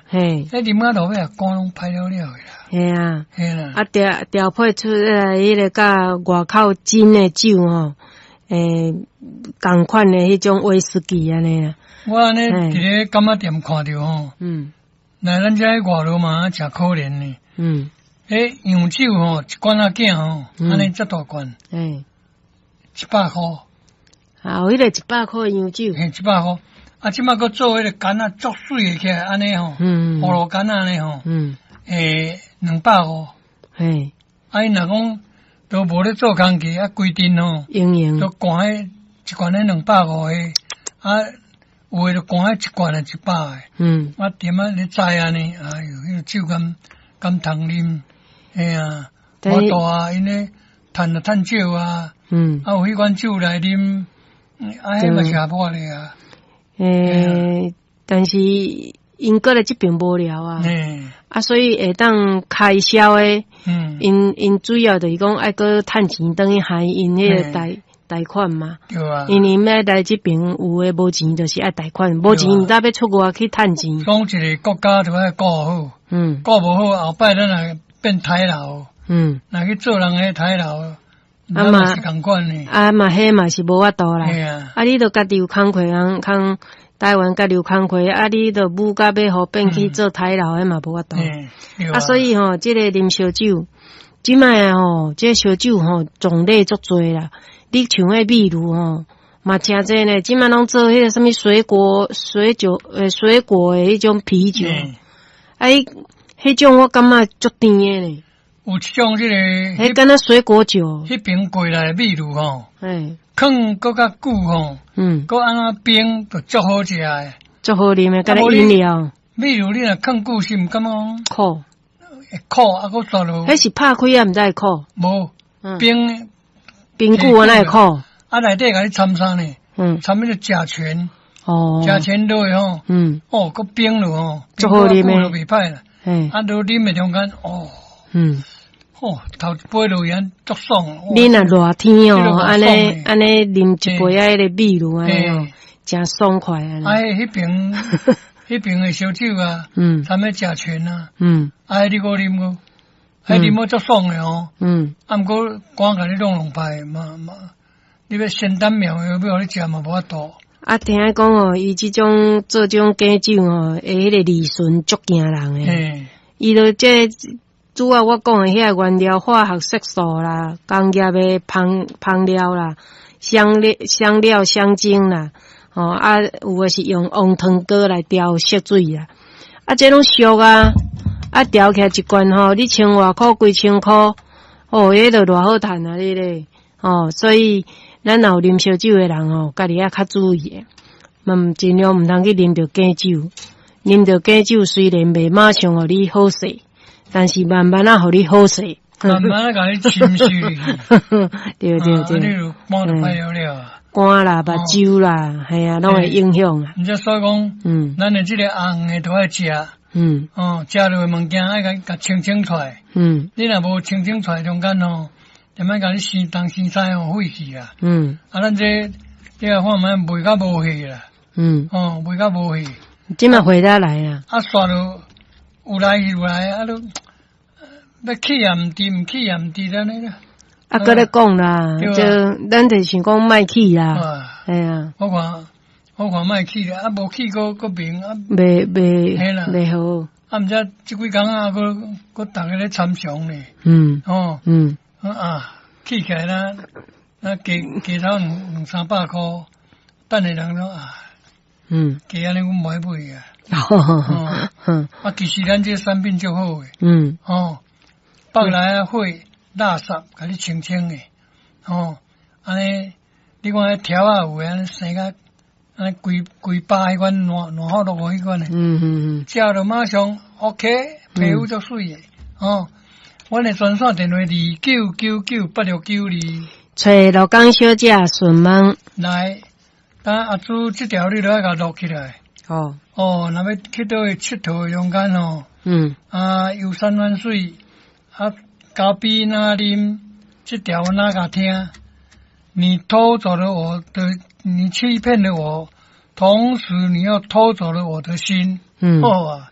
嘿。彼啉到落尾啊，肝攏歹了了的啦。嘿啊。嘿啦。啊，調調配出來彼個佮外口真的酒吼，仝款的彼種威士忌按呢啦。我按呢佇咧柑仔店看著吼，來咱遮外勞嘛誠可憐呢。彼洋酒吼，一罐仔囝吼，按呢遮大罐，100箍。啊，有彼個100箍的洋酒。嘿，100箍。啊，這擺閣做彼個罐仔足媠的起來，按呢吼，葫蘆罐仔按呢吼，250。啊，𪜶若講都無咧做工課，啊，規陣吼，用用都灌彼一罐咧250的，啊，有的就灌彼一罐咧100的。啊，點仔咧載按呢？哎喲，彼個酒敢敢通啉？嘿啊，無大啊，𪜶咧趁就趁少啊。啊，有彼款酒來啉，啊，彼嘛是合法的啊。但是𪜶過來這邊無聊啊。啊，所以會當開銷的，𪜶主要就是講愛閣趁錢轉去還𪜶彼個貸貸款嘛。對啊。因為欲來這邊有的無錢，就是愛貸款，無錢毋知欲出外去趁錢。講一個國家就愛顧好，顧無好，後擺咱若變刣老，若去做人的刣老，啊嘛是仝款的。啊嘛，彼嘛是無法度啦。嘿啊。啊，你著家己有工課通通台灣家己有工課，啊，你著母甲欲予變去做刣老，彼嘛無法度。啊，所以吼，這個啉燒酒，這擺吼，這個燒酒吼種類足濟啦。你像彼秘魯吼，嘛誠濟呢。這擺攏做彼個啥物水果水酒，水果的彼種啤酒。啊，彼種我感覺足甜的呢。有一種這個，彼敢若水果酒。彼邊過來的秘魯吼，囥閣較久吼，閣按怎冰就足好食的。足好啉的，敢若飲料。秘魯你若囥久是毋感覺苦？會苦啊，閣煞落。彼是拍開也毋知會苦。無，冰冰久啊，哪會苦？啊，內底共你摻啥呢？摻彼個甲醛。甲醛落去吼。哦，閣冰落吼，足好啉的。就袂歹啦。啊，落啉的中間，哦。哦，頭一杯落去足爽。你若熱天哦，按呢按呢啉一杯啊，彼個秘魯按呢哦，誠爽快按呢。啊，彼邊的燒酒啊，摻彼甲醛啊，啊，你閣啉閣，彼啉了足爽的哦。啊，毋過肝共你弄弄歹嘛嘛，你欲仙丹妙藥欲予你食嘛無法度。啊，聽講哦，伊這種做這種假酒吼，彼個利潤足驚人的。伊就這主要我講的遐個原料、化學色素啦、工業的香香料啦、香料、香料、香精啦，吼啊，有的是用黃糖膏來調色水啦。啊，這攏俗啊，啊調起來一罐吼，你千外箍、幾千箍，哦，彼就偌好趁啊！你咧，哦，所以咱若有啉燒酒的人吼，家己愛較注意的，嘛盡量毋通去啉著假酒。啉著假酒雖然袂馬上予你好勢，但是慢慢仔予你好勢。慢慢仔共你侵蝕入去。對對對。啊，你就肝就歹了了。肝啦、目睭啦，係啊，攏會影響啊。毋才所以講，咱的這個紅的都愛食。哦，食落的物件愛共共清清出來。你若無清清出來中間吼，點仔共你生東生西吼，廢去啦。啊，咱這你來看覓賣甲無戲啦。哦，賣甲無戲。這馬回得來啊。啊，煞落有來有來，啊，都欲去也毋佇，毋去也毋佇，按呢啦。啊，閣咧講啦，就咱就想講莫去啦，係啊。我看莫去啦，啊，無去閣閣明啊。袂袂好。啊，毋知這幾工啊，閣閣逐家咧參詳咧。哦。啊，去起來啦，啊，加加頭兩兩三百箍，等下人講啊。加按呢，阮無愛買啊。哦。啊，其實咱這個產品足好的。哦，北來啊，火垃圾，共你清清的。哦，按呢，你看彼條仔有的按呢生甲，按呢規規包彼款爛爛好落彼款的。食著馬上 OK，皮膚足媠的。哦，阮的專線電話29998692。揣勞工小姐順問。來，等阿朱這條你都愛共錄起來。哦。哦，若欲去佗位𨑨迌的中間吼。啊，遊山玩水，啊，咖啡若啉，這條哪共聽？你偷走了我的，你欺騙了我，同時你又偷走了我的心。好啊。